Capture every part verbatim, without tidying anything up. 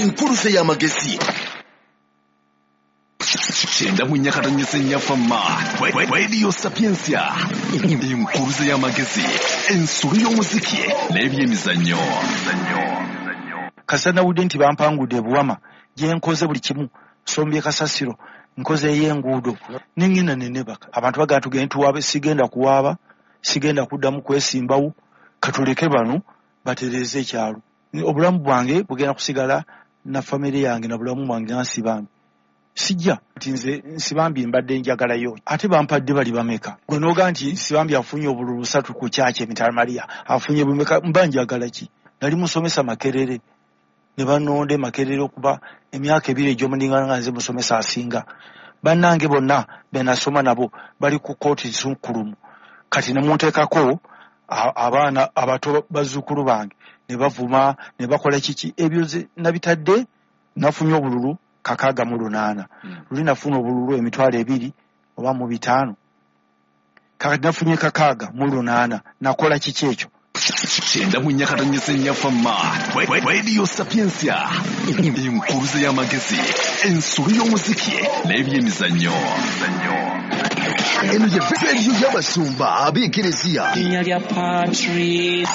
Enkuluze y'amagezi. Kyenda mu nnya katonyeze nnya Fama. Radio Sapientia. Enkuluze y'amagezi, ensulu y'omuziki n'ebyemizannyo. Kasita nawulidde nti bampangudde ebuwama gye nkoze buli kimu, sombye kasasiro, nkoze ey'enguudo, nengenda nenebaka. Abantu bagamba tugende tuwaabe, sigenda kuwaaba, sigenda kuddamu kwesimbawo, katuleke bano batereeze ekyalo. Obulamu bwange bugenda kusigala na famire yange na bulamu bwange nga Nsibambi. Sijja nti nze Nsibambi mbadde njagalayo, ate bampadde bali bameka. Gwe n'oga nti Nsibambi afunye obululu busatu ku kyaki emitala Maria, afunye bumeka, mba njagala ki? Nali musomesa Makerere, ne banonde Makerere okuba emyaka ebiri egy'omuningana nga nze musomesa asinga. Bannange bonna be nasoma nabo bali ku kkooti nsukkulumu. Kati ne munteekako abaana abato bazzukulu bange ne bavuma ne bakola kiki, ebyo nabitadde. Nafunye obululu kakaaga mu lunaana, luli nafuna obululu emitwalo ebiri oba mu bitaano, kakati nafunye kakaaga mu lunaana, nakola kiki ekyo? Kyenda mu nnya katonyeze nnya Fama. Radio Sapientia. Enkuluze y'amagezi, ensulu y'omuziki n'ebyemizannyo. Eno ye rediyo y'abasumba ab'Ekereziya. Linnya lya Patrice.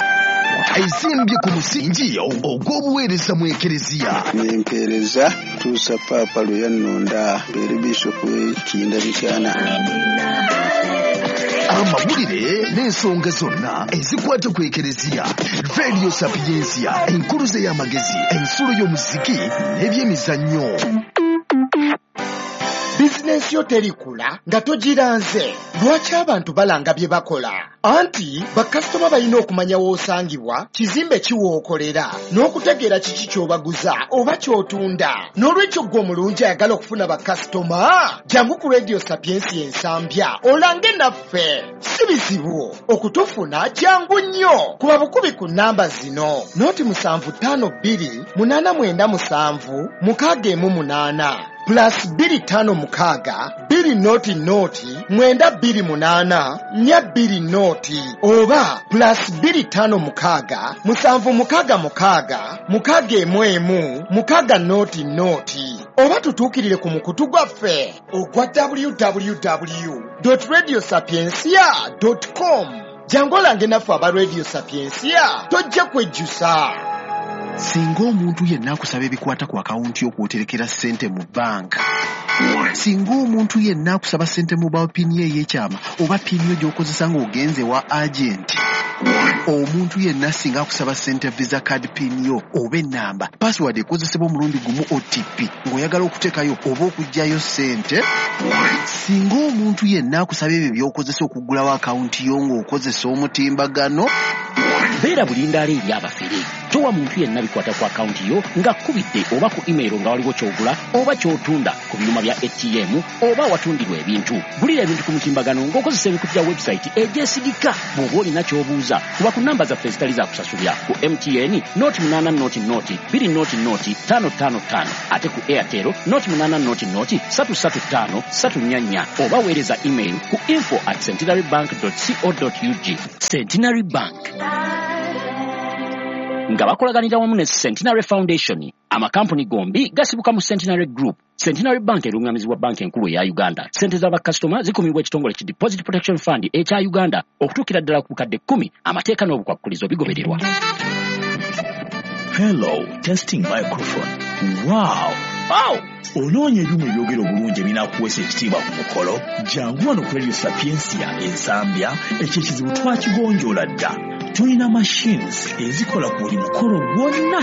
Ezimbye ku musingi ogw'obuweereza mu Ekereziya. Nempeereza tuusa Paapa lwe yannonda mbeere bishopu w'Ekinda Mityana. Amawulire n'ensonga zonna ezikwata ku Ekereziya. Radio Sapientia, enkuluze y'amagezi, ensulo y'omuziki n'ebyemizannyo. Bizinensi yo terikula nga togiranze. Lwaki abantu balanga bye bakola? Anti bakasitoma balina okumanya w'osangibwa, kizimbe ki w'okolera, n'okutegeera kiki ky'obaguza oba ky'otunda. N'olwekyo ggwe omulungi ayagala okufuna bakasitoma, jangu ku Radio Sapientia Ensambya olange naffe. Si bizibu okutufuna, jangu nnyo. Kuba bukubi ku nnamba zino: noti musanvu ttaano bbiri munaana mwenda musanvu mukaaga emu munaana, plus bbiri ttaano mukaaga bbiri noti noti mwenda bbiri munaana nnya bbiri noti, oba plus bbiri ttaano mukaaga musanvu mukaaga mukaaga mukaaga emu emu mukaaga noti noti, oba tutuukirire ku mukutu gwaffe ogwa w w w radio sapientia com. Jangu olange naffe aba Radio Sapientia, tojja kwejjusa. Singa omuntu yenna akusaba ebikwata ku akawunti y'okwoterekera ssente mu banka, singa omuntu yenna akusaba ssente mobile PIN ye ey'ekyama oba PIN yo gy'okozesa ng'ogenze wa agenti, omuntu yenna singa akusaba ssente Visa card PIN yo oba ennamba password ekozesebwa omulundi gumu O T P ng'oyagala okuteekayo oba okuggyayo ssente, singa omuntu yenna akusaba ebyo by'okozesa okuggulawo akawunti yo ng'okozesa omutimbagano, Beera bulindaala eri abafere. Towa muntu yenna bikwata ku akawunti yo ng'akkubidde oba ku email nga waliwo ky'ogula oba ky'otunda ku byuma bya A T M oba awatundirwa ebintu. Gulira ebintu ku mutimbagano ng'okozesa emikutu gya website egyesigika. Bw'oba olina ky'obuuza, kuba ku namba zaffe ezitali za kusasulira: ku M T N noti munaana noti noti bbiri noti noti ttaano ttaano ttaano, ate ku Airtel noti munaana noti noti ssatu ssatu ttaano ssatu nnya nnya, oba weereza email ku info at centenary bank co ug. Centenary Bank nga bakolaganira wamu ne Centenary Foundation. Amakampuni gombi gasibuka mu Centenary Group. Centenary Bank erungamizibwa Banka Enkulu eya Uganda. Sente z'abakasitoma zikumibwa ekitongole ki Deposit Protection Fund ekya Uganda okutuukira ddala ku bukadde kkumi. Amateeka n'obukwakkulizo bigobererwa. Hello, testing microphone. Wow! Wow! Onoonya ebyuma ebyogera obulungi ebinaakuweesa ekitiibwa ku mukolo? Jangu wano ku Radio Sapientia Ensambya, ekyo ekizibu twakigonjoola dda. Tulina machines ezikola ku buli mukolo gwonna: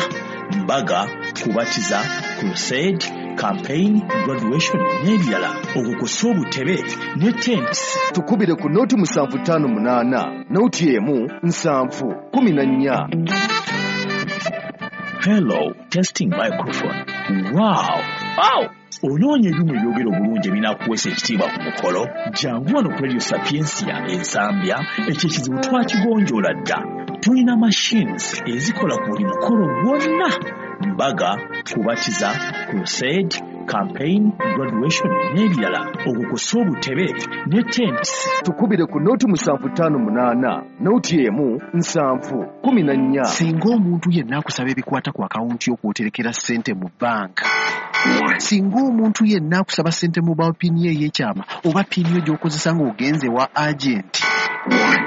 mbaga, kubatiza, crusade, campaign, graduation n'ebirala, okwo kw'ossa obutebe ne tents. Tukubire ku noti musanvu ttaano munaana noti emu nsanvu kumi na nnya. Hello, testing microphone. Wow! Wow! Onoonya ebyuma ebyogera obulungi ebinaakuweesa ekitiibwa ku mukolo? Jangu wano ku Radio Sapientia Ensambya, ekyo ekizibu twakigonjoola dda. Tulina machines ezikola ku buli mukolo gwonna: mbaga, kubatiza, crusade, campaign, graduation n'ebirala, okwo kw'ossa obutebe ne tents. Tukubire ku noti musanvu ttaano munaana noti emu nsanvu kumi na nnya. Singa omuntu yenna akusaba ebikwata ku akawunti yo kw'oterekera ssente mu banka, singa omuntu yenna akusaba ssente mobile pin ye ey'ekyama oba pin yo gy'okozesa ng'ogenze wa agenti,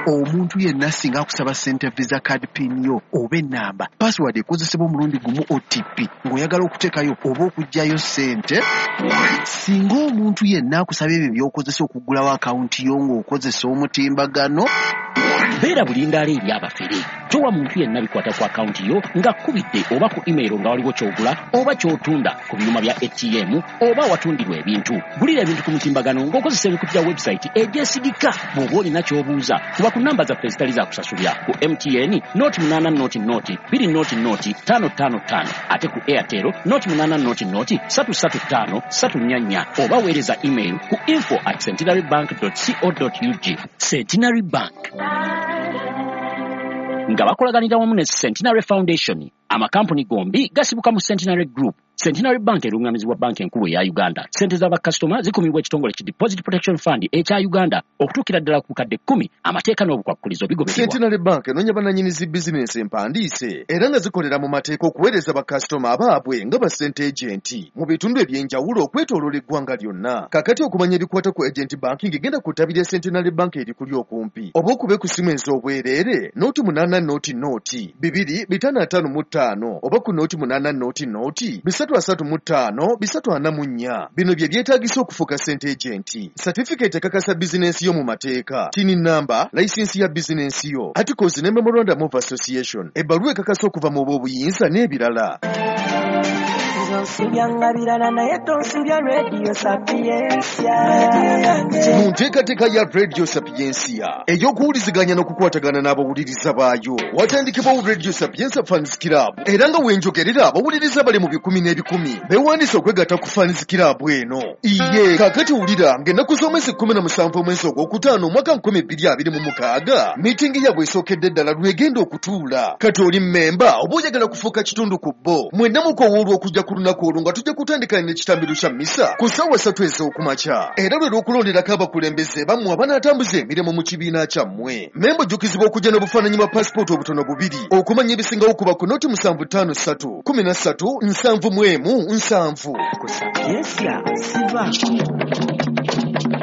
omuntu yenna singa akusaba ssente visa card pin yo oba ennamba password ekozesebwa omulundi gumu O T P ng'oyagala okuteekayo oba okuggyayo ssente, singa omuntu yenna akusaba ebyo by'okozesa okuggulawo akawunti yo ng'okozesa omutimbagano, beera bulindaala eri abafere. Towa muntu yenna bikwata ku akawunti yo ng'akubidde oba ku email nga waliwo ky'ogula oba ky'otunda ku byuma bya A T M oba awatundirwa ebintu. Gulira ebintu ku mutimbagano ng'okozesa emikutu gya website egyesigika. Bw'oba olina ky'obuuza kuba ku namba zaffe ezitali za kusasulira ku M T N noti munaana noti noti bbiri noti noti ttaano ttaano ttaano, ate ku Airtel noti munaana noti noti ssatu ssatu ttaano ssatu nnya nnya, oba weereza email ku info at centenary bank dot co dot ug. Centenary Bank nga bakolaganira wamu ne Centenary Foundation. Amakampuni gombi gasibuka mu Centenary Group. Centenary Bank erungamizibwa banka enkulu eya Uganda. Ssente z'abakasitoma zikumibwa ekitongole ki Deposit Protection Fund ekya Uganda okutuukira ddala ku bukadde kkumi. Amateeka n'obukwakkulizo bigobererwa. Centenary Bank enoonya bannannyini zi bizinensi empandiise era nga zikolera mu mateeka okuweereza bakasitoma abaabwe nga ba ssente agenti mu bitundu eby'enjawulo okwetooloola eggwanga lyonna. Kaakati okumanya ebikwata ku agent banking genda ku ttabi lya Centenary Bank erikuli okumpi oba okube ku ssimu ez'obwereere noti munaana noti noti bibiri bitaano ataano mu ttaano oba ku noti munaana noti noti bisatu asatu mu ttaano bisatu ana mu nnya. Bino bye byetaagisa okufuuka ssente agenti: certificate ekakasa bizinensi yo mu mateeka, TIN number, layisinsi ya bizinensi yo, articles ne memorandum of association, ebbaluwa ekakasa okuva mu b'obuyinza n'ebirala. Mu nteekateeka ya Radio Sapientia ey'okuwuliziganya n'okukwatagana n'abawuliriza baayo, watandikibwawo Radio Sapientia Fans Club, era nga wenjogerera abawuliriza bali mu bikumi n'ebikumi beewandiise okwegatta ku Fans Club eno. Iye kaakati wulira ng'ennaku z'omwezi kkumi na musanvu omwezi ogwokutaano omwaka nkumi bbiri abiri mu mukaaga miitingi yaabwe esookedde ddala lwegenda okutuula. Kati oli mmemba oba oyagala kufuuka kitundu ku bo, mwenna mukowoolwa okujja ku lunaku olwo nga tujja kutandika n'ekitambiro kya mmisa ku ssaawa ssatu ez'okumakya, era lwe lw'okulonderako abakulembeze bammwe abanaatambuza emirimu mu kibiina kyammwe. Memba ojjukizibwa okujja n'obufaananyi bwa paasipooti obutono bubiri. Okumanya ebisingawo kuba ku noti musanvu ttaano ssatu kumi na ssatu nsanvu mu emu nsanvu.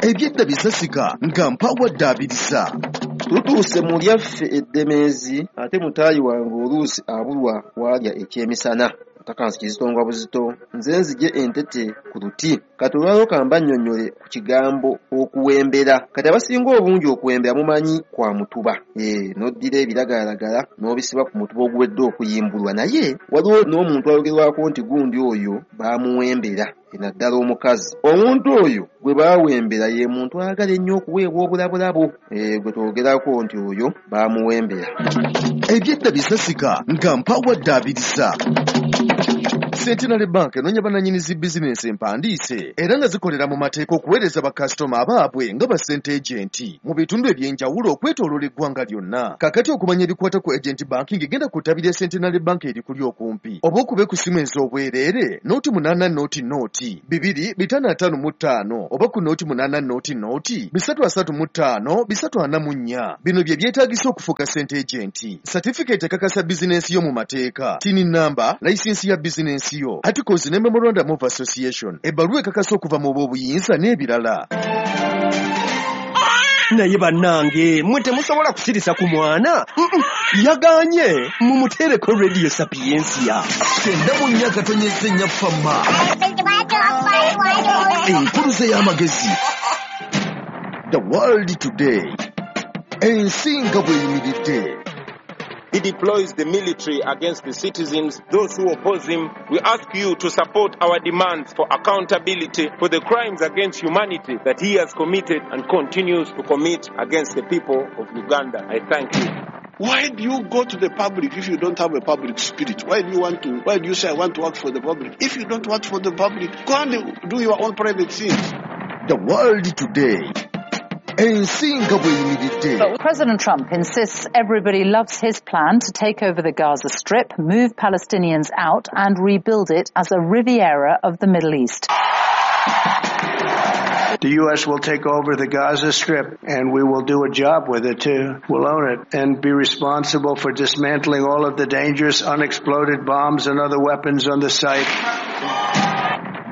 Ebyedda bisasika nga mpawadde abiriza. Tutuuse mu lyaffe eddemeezi, ate mutaayi wange oluusi abulwa waalya ekyemisana. Takansi kizitongwa buzito, nze nzije entete ku luti. Kati olwaleero kamba nnyonnyole ku kigambo okuwembera. Kati abasinga obungi okuwembera mumanyi kwa mutuba. Ee, n'oddira ebiragalalagala n'obisiba ku mutuba oguwedde okuyimbulwa, naye waliwo n'omuntu ayogerwako nti gundi oyo baamuwembera, naddala omukazi. Omuntu oyo gwe baawembera ye muntu ayagala ennyo okuweebwa obulabulabo. Ee, gwe twogerako nti oyo baamuwembera. Ebyedda bisasika nga mpawadde abiriza. Centenary Bank enoonya bannannyini zi bizinensi empandiise era nga zikolera mu mateeka okuweereza bakasitoma abaabwe nga ba ssente agenti mu bitundu eby'enjawulo okwetooloola eggwanga lyonna. Kaakati okumanya ebikwata ku agent banking genda ku ttabi lya Centenary Bank erikuli okumpi oba okube ku ssimu ez'obwereere noti munaana noti noti bibiri bitaano ataano mu ttaano oba ku noti munaana noti noti bisatu asatu mu ttaano bisatu ana mu nnya. Bino bye byetaagisa okufuuka ssente agenti: certificate ekakasa bizinensi yo mu mateeka, TIN number, layisinsi ya bizinensi yo, articles ne memorandum of association, ebbaluwa ekakasa okuva mu b'obuyinza n'ebirala. Naye bannange mwe temusobola kusirisa ku mwana. Yaganye mumuteereko Radio Sapientia. Kyenda mu nnya katonyeze nnya fama enkuluze y'amagezi. The World Today, ensi nga bw'eyimiridde. He deploys the military against the citizens, those who oppose him. We ask you to support our demands for accountability for the crimes against humanity that he has committed and continues to commit against the people of Uganda. I thank you. Why do you go to the public if you don't have a public spirit? Why do you want to, why do you say I want to work for the public? If you don't work for the public, go and do your own private things. The World Today. Ensi nga bw'eyimiridde. But President Trump insists everybody loves his plan to take over the Gaza Strip, move Palestinians out and rebuild it as a Riviera of the Middle East. The U S will take over the Gaza Strip, and we will do a job with it, too. We'll own it and be responsible for dismantling all of the dangerous unexploded bombs and other weapons on the site.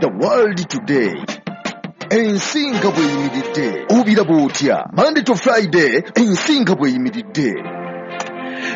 The World Today. Ensi nga bw'eyimiridde. Obiraba otya? Monday to Friday, ensi nga bw'eyimiridde.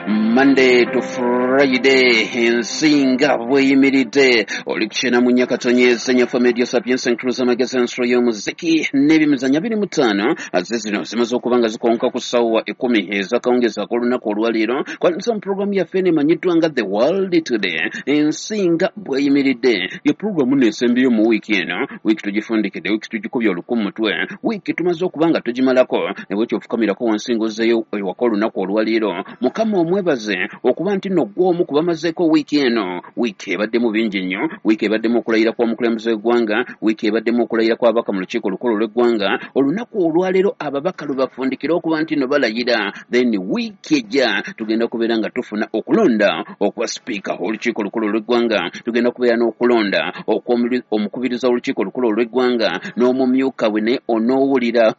Monday to Friday, ensi nga bw'eyimiridde. Oli kukyena mu Nyakatonyeza Nyafa Media Sapiens and Cruiser Magazine ensolo y'omuziki n'ebyemizannyo abiri mu ttaano ze zino zimaze okuba nga zikonka ku ssaawa ekkumi ez'akawungeezi ak'olunaku olwaleero. Kwaniriza mu pulogulaamu yaffe eno emanyiddwa nga The World Today, ensi nga bw'eyimiridde. Ye pulogulaamu nno esembyeyo mu wiiki eno. Wiiki tugifundikidde, wiiki tugikubye oluku mu mutwe, wiiki tumaze okuba nga tugimalako. Ne bwekyo ofukamirako wansi ng'ozzeeyo ewaka olunaku olwaleero. Mukama omwebaze okuba nti nno ggwe omu ku bamazeeko wiiki eno. Wiiki ebaddemu bingi nnyo. Wiiki ebaddemu okulayira kw'omukulembeze w'eggwanga, wiiki ebaddemu okulayira kw'ababaka mu lukiiko olukulu olw'eggwanga. Olunaku olwaleero ababaka lwe bafundikira okuba nti nno balayira. Then wiiki ejja tugenda kubeera nga tufuna okulonda okwa sipiika olukiiko olukulu olw'eggwanga, tugenda kubeera n'okulonda okw'omukubiriza w'olukiiko olukulu olw'eggwanga n'omumyuka we. Naye onoowulira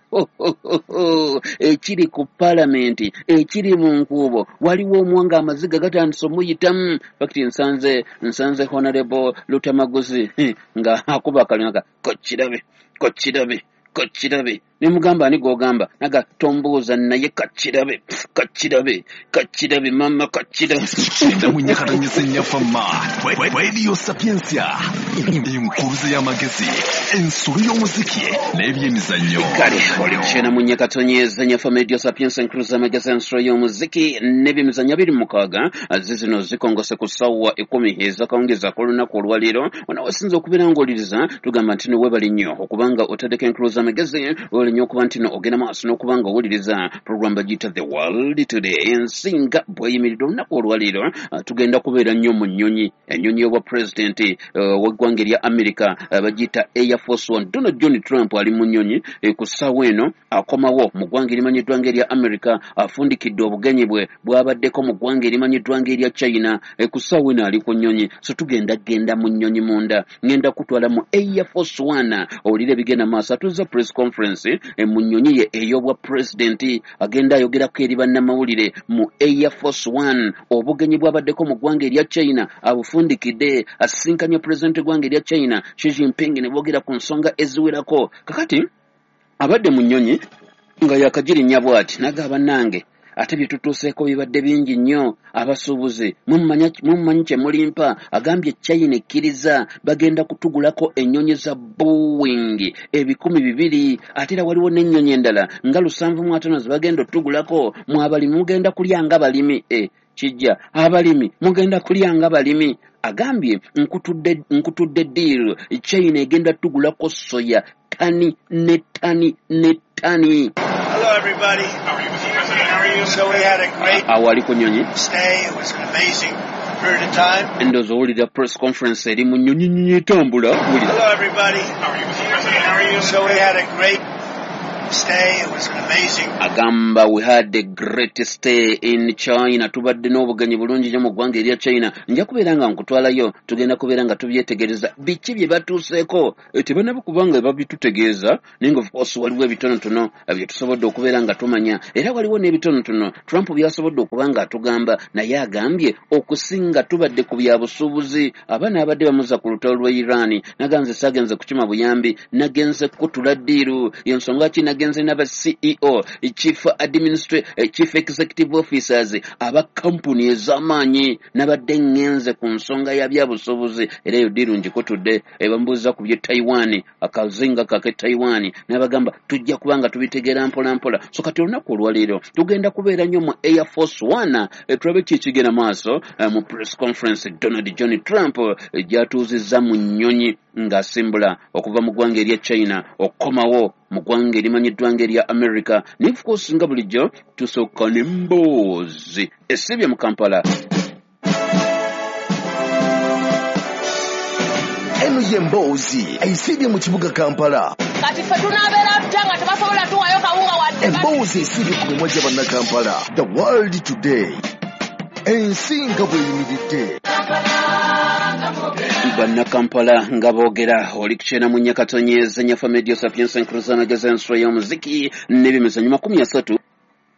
ekiri ku paalamenti, ekiri mu nkuubo, waliwo omwanga amaziga gatandise omuyitamu. Fakiti nsanze nsanze Honorable Lutamaguzi nga akuba akalina kokirabe kokirabe kokirabe, ne mugamba ani gw'ogamba, naga tombuuza naye kakirabe kakirabe kakirabe mama kakirabe. Kyenda mu Nyakatonyeza Nyafa Ma Radio Sapientia, enkuruze y'amagezi, ensolo y'omuziki n'ebyemizannyo. Kale oli kukyenda mu Nyakatonyeza Nyafa Radio Sapientia, enkuruze y'amagezi, ensolo y'omuziki n'ebyemizannyo abiri mu mukaaga ze zino zikongose ku ssaawa ekkumi ez'akawungeezi ak'olunaku olwaleero. Ono wasinza okubeera ng'owuliriza tugamba nti no weebale nnyo okubanga otaddeko enkuruze y'amagezi, weebale nnyo okuba nti no ogenda maaso n'okuba nga owuliriza pulogulaamu bagiyita The World Today, ensi nga bw'eyimiridde. Olunaku olwaleero tugenda kubeera nnyo mu nnyonyi, ennyonyi y'obwa pulezidenti w'eggwanga erya America bagiyita Air Force One. Donald John Trump ali mu nnyonyi ku ssaawa eno, akomawo mu ggwanga erimanyiddwa ng'erya America, afundikidde obugenyi bwe bw'abaddeko mu ggwanga erimanyiddwa ng'erya China. Ku ssaawa eno ali ku nnyonyi, so tugenda genda mu nnyonyi munda, ngenda kutwala mu Air Force One owulire ebigenda maaso. Atuuza press conference mu nnyonyi ye ey'obwa pulezidenti, agenda ayogerako eri bannamawulire mu Air Force One. Obugenyi bw'abaddeko mu ggwanga erya China abufundikidde, asisinkanye pulezidenti w'eggwanga erya China Xi Jinping ne boogera ku nsonga eziwerako. Kakati abadde mu nnyonyi nga yakagirinnya bw'ati n'agamba, bannange ate bye tutuuseeko bibadde bingi nnyo, abasuubuzi mummanyi kye mulimpa. Agambye China ekkiriza bagenda kutugulako ennyonyi za Boeing ebikumi bibiri, ate era waliwo n'ennyonyi endala nga lusanvu mu ataano ze bagenda otugulako. Mwe abalimi mugenda kulya nga balimi, e kijja abalimi mugenda kulya nga balimi. Agambye nkutudde nkutudde deal, China egenda tugulako soya tani ne tani ne tani. Hello everybody. How are you, Mister President? How are you? So we had a great awali ku nnyonyi stay. It was an amazing period of time. Ndowooza owulira press conference eri mu nnyonyi nnyonyi etambula. Wulira. Hello everybody. How are you, Mister President? How are you? So we had a great stay. It was an amazing. Agamba we had a great stay in China, tubadde n'obugenyi bulungi nnyo mu ggwanga erya China. Nja kubeera nga nkutwalayo, tugenda kubeera nga tubyetegereza biki bye batuuseeko. Tebannaba kubanga babitutegeeza, naye nga of course waliwo ebitonotono bye tusobodde okubeera nga tumanya, era waliwo n'ebitonotono Trump by'asobodde okuba nga atugamba. Naye agambye okusinga tubadde ku bya busuubuzi. Abaana abadde bamuza ku lutalo lw'e Iran, naganze saagenze kukima buyambi, nagenze kukutula ddiiru. Y'ensonga ki nagenze n'aba C E O, Chief Administrative, Chief Executive Officers aba kampuni ez'amaanyi, nabadde ngenze ku nsonga ya byabusuubuzi, era eyo ddiiru ngikutudde. Bambuuza ku by'e Taiwan, akazinga kake Taiwan, n'abagamba tujja kuba nga tubitegeera mpola mpola. So kati olunaku olwaleero tugenda kubeera nnyo mu Air Force One, tulabe ki ekigenda maaso mu press conference Donald John Trump gy'atuuzizza mu nnyonyi ng'asimbula okuva mu ggwanga erya China okukomawo mu ggwanga erimanyiddwa ng'erya America. Naye of course nga bulijjo tusooka n'emboozi esibye mu Kampala. Eno ye mboozi esiibye mu kibuga Kampala. Kati ffe tunaabeera tutya nga tebasobola tuwayo kawunga wadde? Emboozi esiibye ku mimwa gya Bannakampala. The World Today, ensi nga bw'eyimiridde. Bannakampala nga boogera. Oli kukyena mu Nyakatonyeza Nyafa Media Sapienza Nkuruzamagezi, ensolo y'omuziki n'ebyemizannyo. Makumi asatu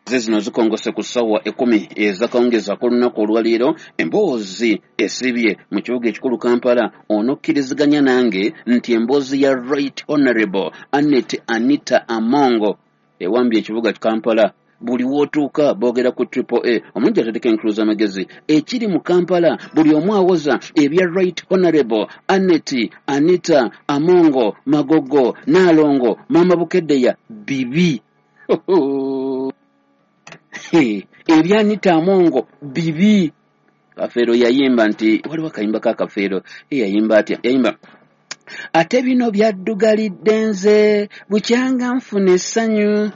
ze zino zikongose ku ssaawa ekkumi ezakawungezi ak'olunaku olwaleero. Emboozi esibye mu kibuga ekikulu Kampala, onokkiriziganya nange nti emboozi ya Right Honorable Annet Anita Amongo ewambye ekibuga Kampala. Buli wootuuka boogera ku Triple A. Omulungi ateeka enkuluza amagezi ekiri mu Kampala, buli omu awoza ebya Right Honorable Annet Anita Amongo Magogo Naalongo Mama Bukeddeya bibi. Ebya Anita Amongo bibi. Kafeero yayimba nti waliwo akayimba ka Kafeero, yayimba atya? Yayimba ate bino byaddugalidde nze bukyanga nfuna essanyu,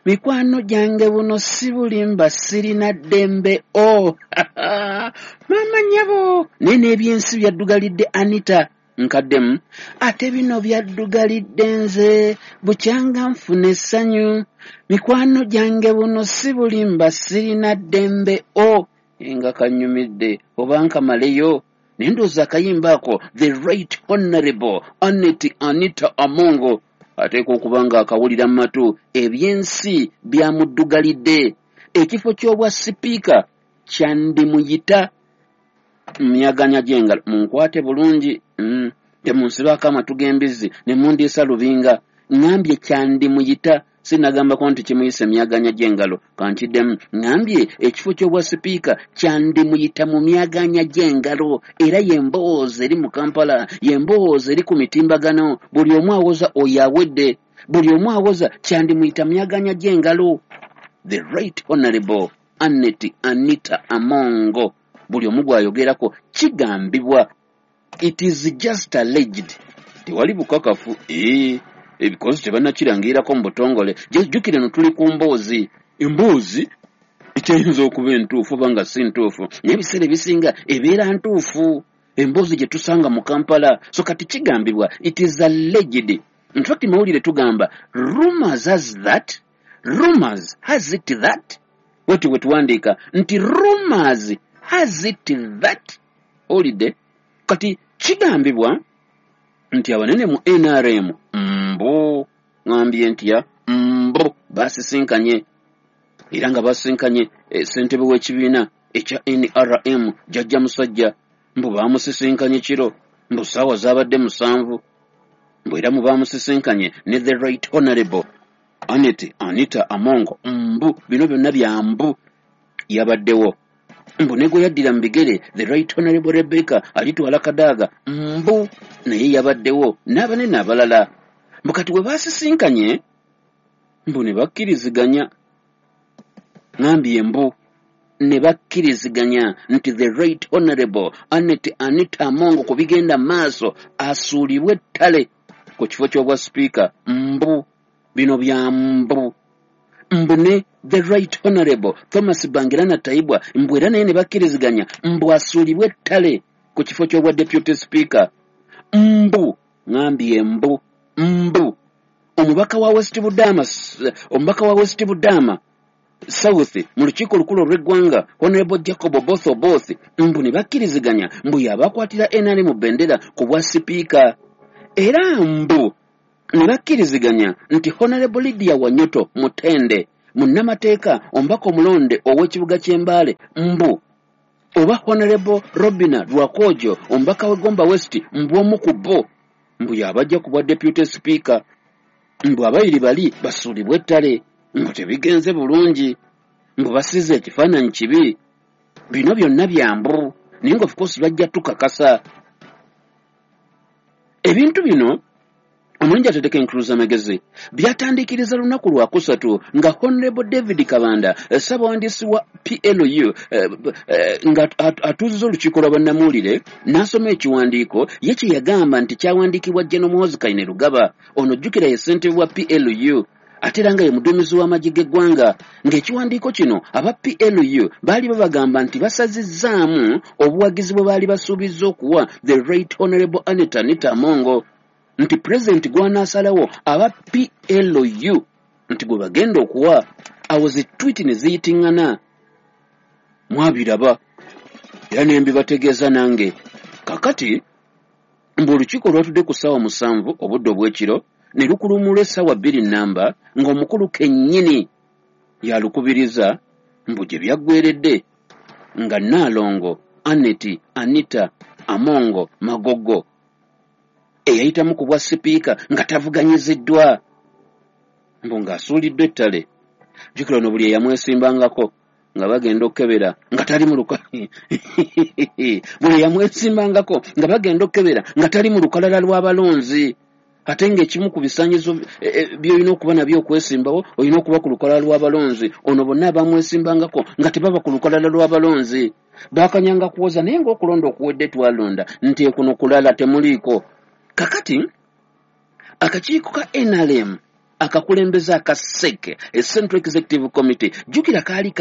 mikwano gyange buno si bulimba, sirina ddembe o maama nnyabo, naye n'ebyensi byaddugalidde Anita. Nkaddemu ate bino byaddugalidde nze bukyanga nfuna essanyu, mikwano gyange buno si bulimba, sirina ddembe o nga kanyumidde oba nkamaleyo. Naye ndowooza akayimba ako the Right Honorable Annet Anita Amongo ateekwa okuba nga akawulira mu matu. Ebyensi byamuddugalidde, ekifo ky'obwa sipiika kyandimuyita myaganya gy'engalo. Munkwate bulungi, mm. temunsibaako amatu g'embizzi ne mundiisa lubinga. Ŋŋambye kyandimuyita, sinagambako nti kimuyisa emyaganya gy'engalo. Kankiddemu, ŋŋambye ekifo ky'obwa sipiika kyandimuyita mu myaganya gy'engalo. Era y'emboozi eri mu Kampala, y'emboozi eri ku mitimbagano. Buli omu awoza oyo awedde, buli omu awoza kyandimuyita myaganya gy'engalo. The Right Honorable Annet Anita Amongo buli omu gw'ayogerako kigambibwa, it is just alleged, tewali bukakafu, ee ebikozi tebannakirangirako mu butongole. Jjukire no tuli ku mboozi, emboozi ekyayinza okuba entuufu oba nga si ntuufu, naye ebiseera ebisinga ebeera ntuufu emboozi gye tusanga mu Kampala. So kati kigambibwa, it is alleged. In fact mawulire tugamba rumors has that, rumors has it that, bwetyo bwe tuwandiika nti rumors has it that. Owulidde? Kati kigambibwa nti abanene mu N R M mbu, ŋambye ntya, mbu basisinkanye, era nga basisinkanye eh, ssentebe w'ekibiina ekya N R M Jjajja Musajja. Mbu bamusisinkanye kiro, mbu ssaawa zaabadde musanvu, mbu era mu bamusisinkanye ne the Right Honorable Anet Anita Amongo. Mbu bino byonna bya mbu yabaddewo, mbu ne gwe yaddira mu bigere the Right Honorable Rebecca Alitwala Kadaga mbu naye yabaddewo, n'abanene abalala. Mbu kati bwe baasisinkanye mbu ne bakkiriziganya, ŋambye mbu ne bakkiriziganya nti the Right Honorable Anet Anita Amongo ku bigenda maaso asuulibwe ettale ku kifo ky'obwa sipiika. Mbu bino bya mbu, mbu ne the Right Honorable Thomas Bangirana Tayebwa mbu era naye ne bakkiriziganya mbu asuulibwe ettale ku kifo ky'obwa deputy speaker. Mbu ŋambye mbu, mbu omubaka wa West Budama, omubaka wa West Budama South mu lukiiko olukulu olw'eggwanga Honorable Jacob Oboth Oboth mbu ne bakkiriziganya mbu yabakwatira N R M bendera ku bwa sipiika. Era mbu ne bakkiriziganya nti Honorable Lydia Wanyoto Mutende, munnamateeka omubaka omulonde ow'ekibuga ky'Embaale, mbu oba Honorable Robina Rwakojo omubaka w'e West, mbu omu ku bo mbu yabajja ku bwa deputy speaker, mbu abayiri bali basuulibwe ettale, mbu tebigenze bulungi, mbu basize ekifaananyi kibi. Bino byonna bya mbu, naye nga of course bajja tukakasa ebintu bino. Omulungi ateteka enkuluza amagezi byatandikiriza lunaku lwakusatu nga Honorable David Kabanda, ssabawandiisi wa P L U, eh, eh, nga atuuziza olukiiko lwa bannamawulire n'asoma ekiwandiiko ye kye yagamba nti kyawandiikibwa General Muhoozi Kainerugaba. Ono jjukira ye ssentebe wa P L U, ate era nga ye muduumizi w'amagye g'eggwanga, ng'ekiwandiiko kino aba P L U baali babagamba nti basazizzaamu obuwagizi bwe baali basuubizza okuwa the Right Honorable Annet Anita Among, nti pulezidenti gw'anaasalawo aba P L U nti gwe bagenda okuwa. Awo zi tweet ne ziyitiŋŋana, mwabiraba era ne mbibategeeza nange. Kakati mbu olukiiko lwatudde ku ssaawa musanvu obudde obw'ekiro ne lukulumula essaawa bbiri nnamba ng'omukulu kennyini yalukubiriza, mbu gye byaggweredde nga Nnaalongo Annet Anita Among Magogo eyayitamu ku bwa sipiika nga tavuganyiziddwa, mbu ng'asuuliddwa ettale. Jjukira ono buli eyamwesimbangako nga bagenda okukebera nga tali mu luka buli eyamwesimbangako nga bagenda okukebera nga tali mu lukalala lw'abalonzi, ate ng'ekimu ku bisaanyizo by'olina okuba nabyo okwesimbawo olina okuba ku lukalala lw'abalonzi. Ono bonna abamwesimbangako nga tebaba ku lukalala lw'abalonzi baakanyanga kuwoza, naye ng'okulonda okuwedde twalonda nti kuno kulala temuliiko. Kakati akakiiko ka N R M akakulembeze aka S E C, Central Executive Committee, jjukira kaali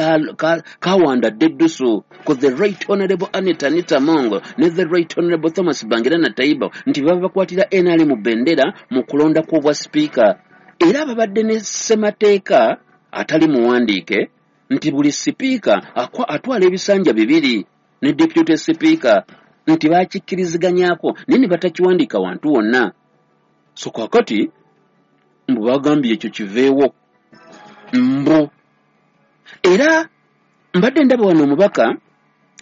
kawandadde eddusu ku the Right Honorable Annet Anita Among ne the Right Honorable Thomas Bangirana Taiba nti baba bakwatira N R M bendera mu kulonda kw'obwa sipiika, era babadde ne ssemateeka atali muwandiike nti buli sipiika atwala ebisanja bibiri ne deputy sipiika nti bakikkiriziganyako naye ne batakiwandiika wantu wonna. So kakati mbu bagambye ekyo kiveewo mbu. Era mbadde ndaba wano omubaka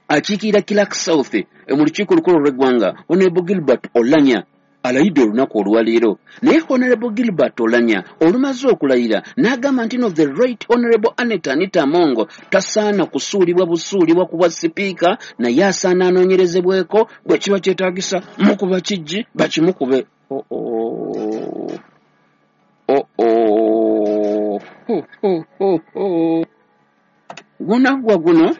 akiikirira Kilak South mu lukiiko olukulu olw'eggwanga Honorable Gilbert Olanya alayidde olunaku olwaleero, naye Honorable Gilbert Olanya olumaze okulayira n'agamba nti no the Right Honorable Annet Anita Among tasaana kusuulibwa busuulibwa ku bwa sipiika, naye asaana anoonyerezebweko bwe kiba kyetaagisa mukuba kijji bakimukube. Oh, oh. Oh, oh. Ho, ho, ho, ho. Gunaggwa guno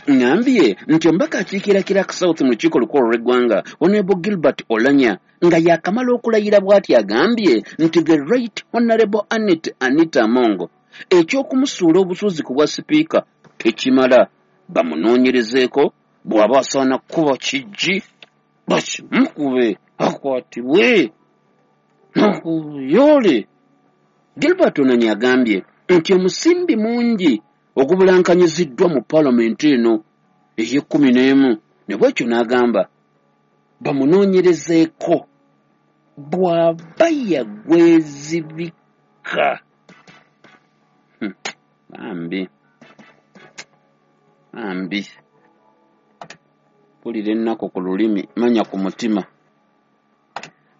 ngambye nti omubaka akiikirira Kilak South mu lukiiko olukulu olw'eggwanga Honorable Gilbert Olanya nga yakamala okulayira bw'ati agambye nti the Right Honorable Annet Anita Among eky'okumusuula obusuuzi ku bwa sipiika tekimala, bamunoonyerezeeko bw'aba asaana kukuba kijji bakimukube akwatibwe nokuyole. Gilbert Olanya agambye nti omusimbi mungi ogubulankanyiziddwa mu paalamenti eno ey'ekkumi n'emu, ne bwekyo n'agamba bamunoonyerezeeko bw'aba yagwezibika. Bambi bambi, mpulira ennaku ku lulimi manya ku mutima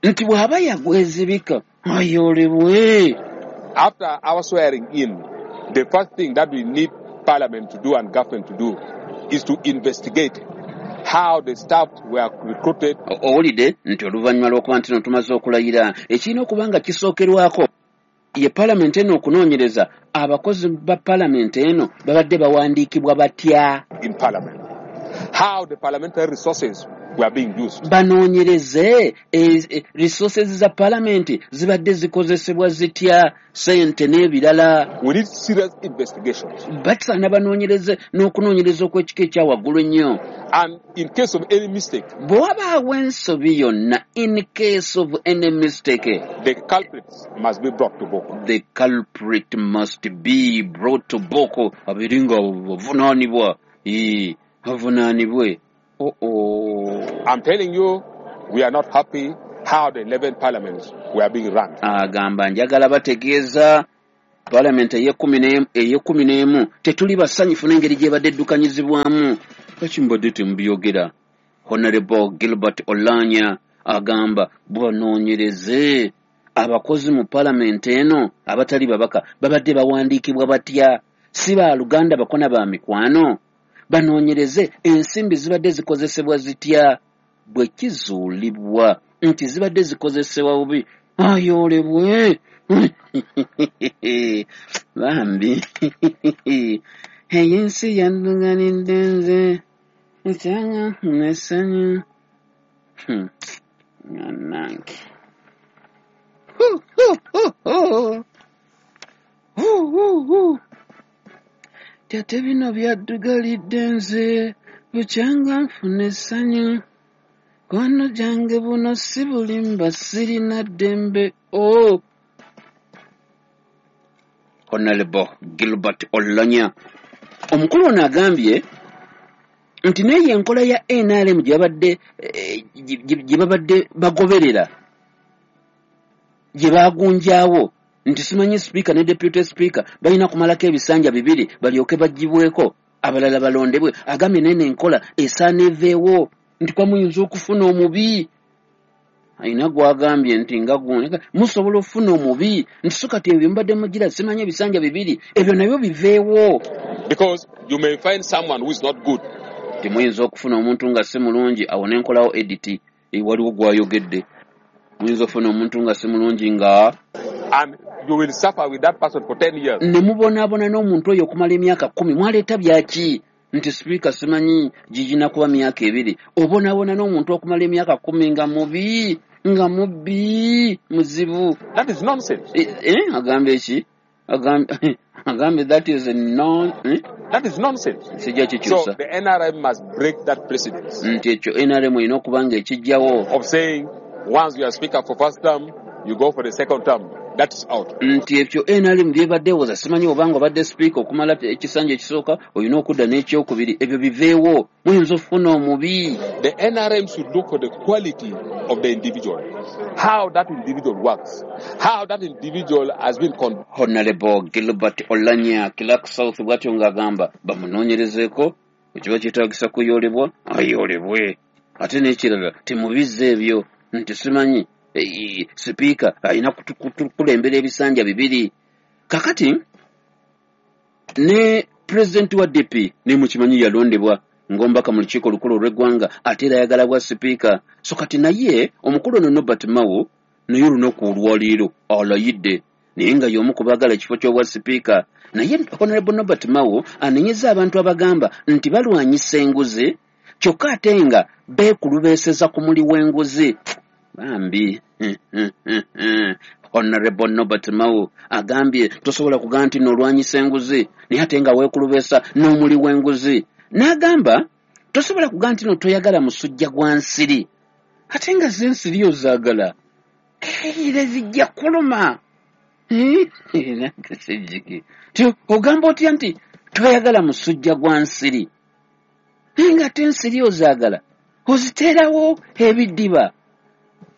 nti bw'aba yagwezibika ayolebwe. After our swearing in, the first thing that we need Parliament to do and government to do is to investigate how the staff were recruited. Owulidde nti oluvannyuma lw'okuba nti no tumaze okulayira, ekirina okuba nga kisookerwako ye Parliament eno okunoonyereza abakozi ba Parliament eno babadde bawandiikibwa batya in Parliament, how the parliamentary resources were being used. Banoonyereze resources za Parliament zibadde zikozesebwa zitya, ssente n'ebirala. We need serious investigations. Basaana banoonyereze n'okunoonyereza okw'ekika ekya waggulu ennyo. And in case of any mistake, bwe wabaawo ensobi yonna, in case of any mistake, the culprits must be brought to book. The culprit must be brought to book. Abeere nga bavunaanibwa, bavunaanibwe. Oh, oh. I'm telling you, we are not happy how the eleven parliaments were being run. Agamba njagala bategeeza parliament ey'ekkumi n'emu tetuli basanyufu n'engeri gy'ebadde eddukanyizibwamu. Lwaki mbadde temubyogera? Honorable Gilbert Olanya agamba banoonyereze abakozi mu parliament eno abatali babaka babadde bawandiikibwa batya, si ba Luganda bakona ba mikwano. Banoonyereze ensimbi zibadde zikozesebwa zitya, bwe kizuulibwa nti zibadde zikozesebwa bubi ayolebwe. Bambi ensi yanduganidde nze ekyanga nessanyu nanange. Ate bino byaddugalidde nze bukyanga nfuna essanyu. Kwano gyange buno si bulimba sirina ddembe. Oh! Honorable Gilbert Olanya. Omukulu ono agambye nti naye enkola ya N R M gye babadde gye babadde bagoberera gye baagunjaawo nti simanyi speaker ne deputy speaker balina kumalako ebisanja bibiri balyoke baggyibweko abalala balondebwe. Agambye nene enkola esaana eveewo nti kwa muyinza okufuna omubi. Ayina gwagambye nti nga gundi musobola okufuna omubi nti so kati ebyo mbadde mugira simanyi ebisanja bibiri ebyo nabyo biveewo. Because you may find someone who is not good. Timuyinza okufuna omuntu nga si mulungi awo n'enkolawo edit waliwo gwayogedde. Muyinza okufuna omuntu nga si mulungi nga and you will suffer with that person for ten years. Ne mubonaabona n'omuntu oyo okumala emyaka kkumi mwaleeta byaki nti speaker simanyi gigina kuba myaka ebiri. Obonaabona n'omuntu okumala emyaka kkumi nga mubi nga mubbi muzibu. That is nonsense. Eh, eh agambe ki? Agambe agambe that is a non eh? That is nonsense. Sijja kikyusa. So the N R M must break that precedence. Nti ekyo N R M erina okuba nga ekijjawo. Of saying once you are speaker for first term, you go for the second term. That's out. Nti ekyo N R M byebadde ewoza simanyi obanga obadde speaker okumala ekisanja ekisooka olina okudda n'ekyokubiri ebyo biveewo muyinza okufuna omubi. The N R M should look for the quality of the individual, how that individual works, how that individual has been con. Honorable Gilbert Olanya Clark South bw'atyo ng'agamba bamunoonyerezeeko ekiba kyetaagisa kuyoolebwa ayoolebwe. Ate n'ekirala temubizza ebyo nti simanyi sipiika alina kukulembera ebisanja bibiri. Kakati ne pulezidenti wa D P ne mukimanyi yalondebwa ng'omubaka mu lukiiko olukulu olw'eggwanga ate era ayagala bwa sipiika. So kati naye omukulu ono Norbert Mao naye olunaku olwaleero alayidde naye nga y'omu ku baagala ekifo ky'obwa sipiika. Naye Honorable Norbert Mao anenyeza abantu abagamba nti balwanyisa enguzi kyokka ate nga beekulubeeseza ku muli w'enguzi. Bambi Honorable Norbert Mao agambye tosobola kugamba nti n'olwanyisa enguzi naye ate nga weekulubeesa n'omuli w'enguzi. N'agamba tosobola kugamba nti no toyagala musujja gwa nsiri ate nga ze ensiri ozaagala era zijja kuluma. Ogamba otya nti toyagala musujja gwa nsiri naye nga ate ensiri ozaagala oziteerawo ebidiba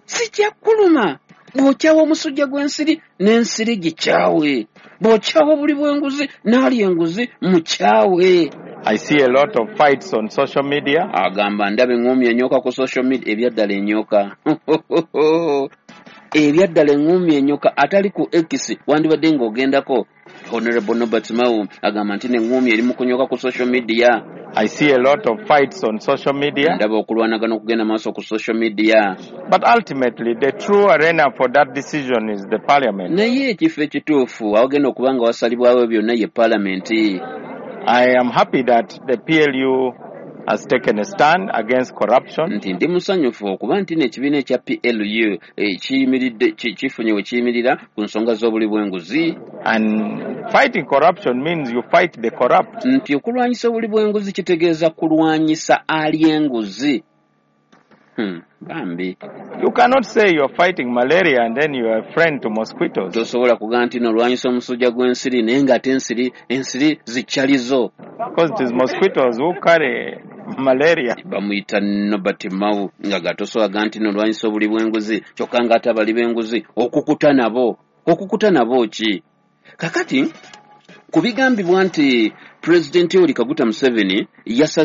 sijja kuluma. Bw'okyawa omusujja gw'ensiri n'ensiri gikyawe, bw'okyawa obuli bw'enguzi n'alya enguzi mukyawe. I see a lot of fights on social media. Agamba ndaba eŋŋumi enyoka ku social media ebyaddala enyoka ebyaddala eŋŋumi enyoka atali ku X wandibadde ng'ogendako. Honorable Norbert Mao agamba nti n'eŋŋumi eri mu kunyoka ku social media. I see a lot of fights on social media. Ndaba okulwanagana okugenda maaso ku social media. But ultimately the true arena for that decision is the parliament. Naye ekifo ekituufu awagenda okuba nga wasalibwawo byonna ye parliament. I am happy that the P L U has taken a stand against corruption. Nti ndi musanyufu okuba nti n'ekibiina ekya P L U kiyimiridde kifunye we kiyimirira ku nsonga z'obuli bw'enguzi. And fighting corruption means you fight the corrupt. Nti okulwanyisa obuli bw'enguzi kitegeeza kulwanyisa ali enguzi. Hmm, bambi. You cannot say you are fighting malaria and then you are a friend to mosquitoes. Tosobola kugamba nti n'olwanyisa omusujja gw'ensiri naye ng'ate ensiri ensiri zikyalizo. Because it is mosquitoes who carry malaria. Bamuyita Norbert Mao nga gatosobola kugamba nti n'olwanyisa obuli bw'enguzi kyokka ng'ate abali b'enguzi okukuta nabo. Okukuta nabo ki? Kakati ku bigambibwa nti Pulezidenti Yoweri Kaguta Museveni yasaze